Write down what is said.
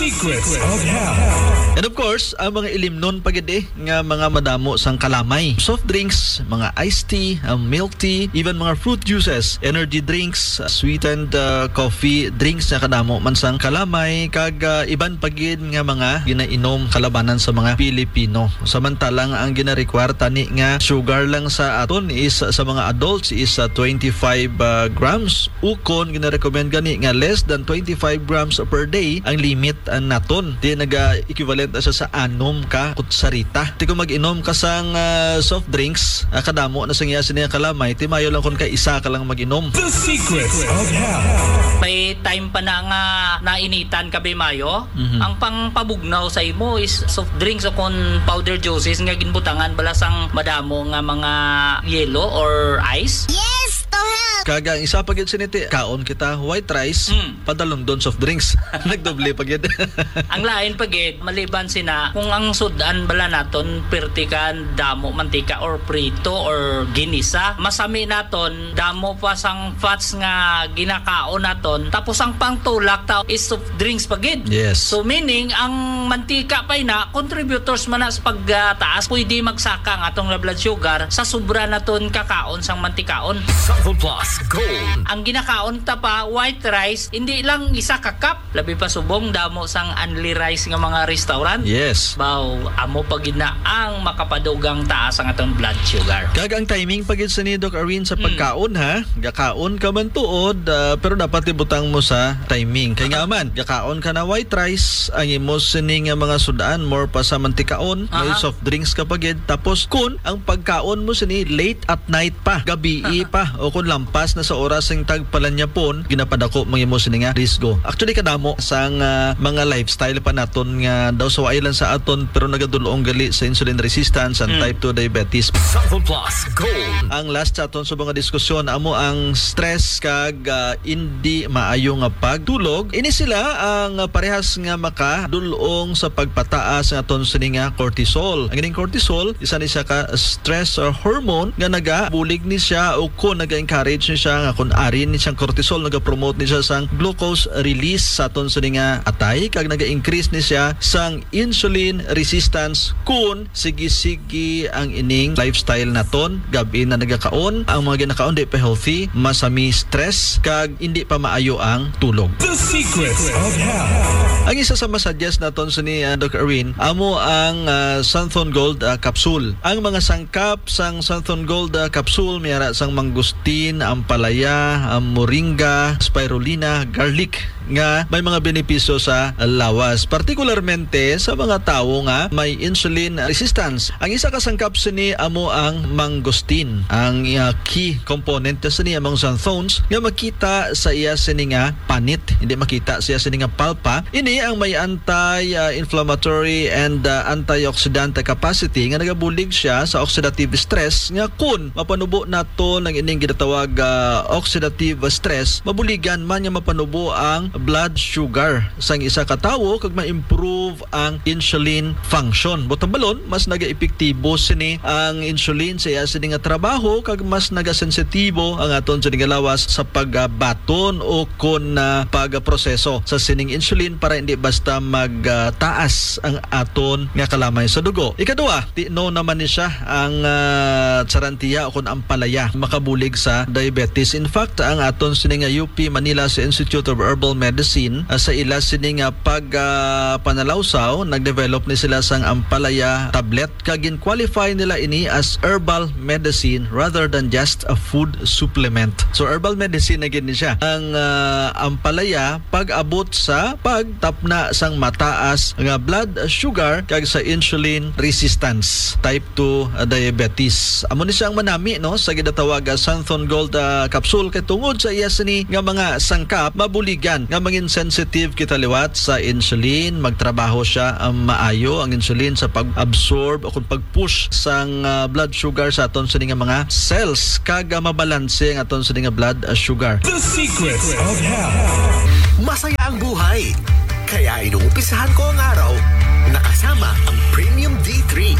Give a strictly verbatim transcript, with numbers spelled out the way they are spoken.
Secrets of Health. And of course, ang mga ilimnon pa gid eh, nga mga madamo sang kalamay. Soft drinks, mga iced tea, ang milk tea, even mga fruit juices, energy drinks, sweetened uh, coffee drinks nga kadamo man sang kalamay, kag uh, iban pa gid nga mga ginainom kalabanan sa mga Pilipino. Samantalang ang ginarequire tani nga sugar lang sa aton is sa mga adults is uh, twenty-five uh, grams, ukon ginarecommend gani nga less than twenty-five grams per day ang limit uh, naton. Di naga-equivalent na siya sa anom ka kutsarita. Ti kung mag-inom ka sang ah, soft drinks, ah, kadamo na sang iya sini nga kalamay, ti mayo lang kun kay isa ka lang mag-inom. The Secrets of Health. May time pa na nga nainitan ka, Bimayo. Mhm. Ang pangpabugnaw sa imo is soft drinks o kon powder juices nga ginbutangan bala sang madamo nga mga yelo or ice. Yes, to help. Kag ang isa pa gid sini ti kaon kita white rice, Mm. padalundon soft drinks. Nagdoble pa gid. Ang lain pa gid, maliban sina, kung ang sud-an bala naton perti ka damo mantika or prito or ginisa, masami naton damo pa sang fats nga ginakaon naton. Tapos ang pangtulak ta is soft drinks pa gid. Yes. So meaning ang mantika pa ina contributors man na sa pagtaas, pwede magsaka ang atong blood sugar sa sobra naton kakaon sang mantikaon. Sample Plus Gold. Ang ginakaon ta pa white rice, hindi lang isa ka cup, labi pa subong damo sang unli rice nga mga restaurant. Yes. Baw, amo pa gid na ang makapadugang taas ang atong blood sugar. Kag ang timing pa gid sa ni Doc Arwin sa Hmm. pagkaon ha. Gakaon ka man tuod, ah, pero dapat ibutang mo sa timing. Kay nga man, gakaon ka na white rice, ang imo sini nga mga sud-an more pa sa mantikaon, may Aha. soft drinks ka pa gid. Tapos kun ang pagkaon mo sini late at night pa, gabii pa, o kun lampas na sa oras sing tagpalanyapon, ginapadako man imo sini nga risgo. Actually kadamo sang ah, mga lifestyle pa naton nga daw sa waay lang sa aton pero nagadulong gali sa insulin resistance and Mm. type two diabetes. Sample Plus Gold. Ang last sa aton sa mga diskusyon amo ang stress kag ah, indi maayo nga pagtulog. Ini sila ang parehas nga makadulong sa pagpataas nga aton sini nga cortisol. Ang ining cortisol isa ni siya ka stress hormone nga nagabulig ni siya o kun naga-encourage ni siya nga kun ari ni siyang cortisol, nagapromote ni siya sang glucose release sa aton sini nga atay kag naga-increase ni siya sang insulin resistance kun sige-sige ang ining lifestyle naton. Gab-i na nagakaon, ang mga ginakaon di pa healthy, masami stress kag indi pa maayo ang tulog. The Secrets of Health. Ang isa sa masuggest naton sini uh, Doc Erwin amo ang uh, Santhon Gold uh, capsule. Ang mga sangkap sang Santhon Gold uh, capsule may ara sang mangustin, ampalaya, uh, moringa, spirulina, garlic nga may mga benepisyo sa lawas, partikularmente sa mga tawo nga may insulin resistance. Ang isa ka sangkap sini amo ang mangosteen. Ang uh, key component na sini among xanthones nga makita sa iya sini nga panit, hindi makita sa iya sini nga palpa. Ini ang may anti-inflammatory and uh, antioxidant capacity nga nagabulig siya sa oxidative stress nga kun mapanubo naton ang ining ginatawag uh, oxidative stress, mabuligan man nga mapanubo ang blood sugar sang isa ka tawo kag ma-improve ang insulin function. Buot silingon, mas nagaepektibo sini ang insulin sa iya sini nga trabaho kag mas nagasensitibo ang aton sini nga lawas sa pagbaton o kon uh, pagproseso sa sining insulin para hindi basta magtaas uh, ang aton nga kalamay sa dugo. Ikaduha, ti-, no naman ni siya ang uh, charantia o kon ampalaya makabulig sa diabetes. In fact, ang aton sini nga U P Manila sa Institute of Herbal Medicine uh, sa ila sini nga pag uh, panalawsaw, nag-develop ni sila sang ampalaya tablet kag gin-qualify nila ini as herbal medicine rather than just a food supplement. So herbal medicine na gid ni siya. Ang uh, ampalaya pag-abot sa pagtapna sang mataas nga blood sugar kag sa insulin resistance type two diabetes. Amo ni siya ang manami no sa ginatawag nga Santhon Gold uh, capsule kay tungod sa iya sini nga mga sangkap mabuligan nga mangin sensitive kita liwat sa insulin, magtrabaho siya ang maayo ang insulin sa pag-absorb o kung pag-push sang uh, blood sugar sa aton sini nga mga cells kag uh, mabalanse ang aton sini nga blood uh, sugar. The Secrets of Health. Masaya ang buhay. Kaya inuumpisahan ko ang araw nakasama ang Premium D three.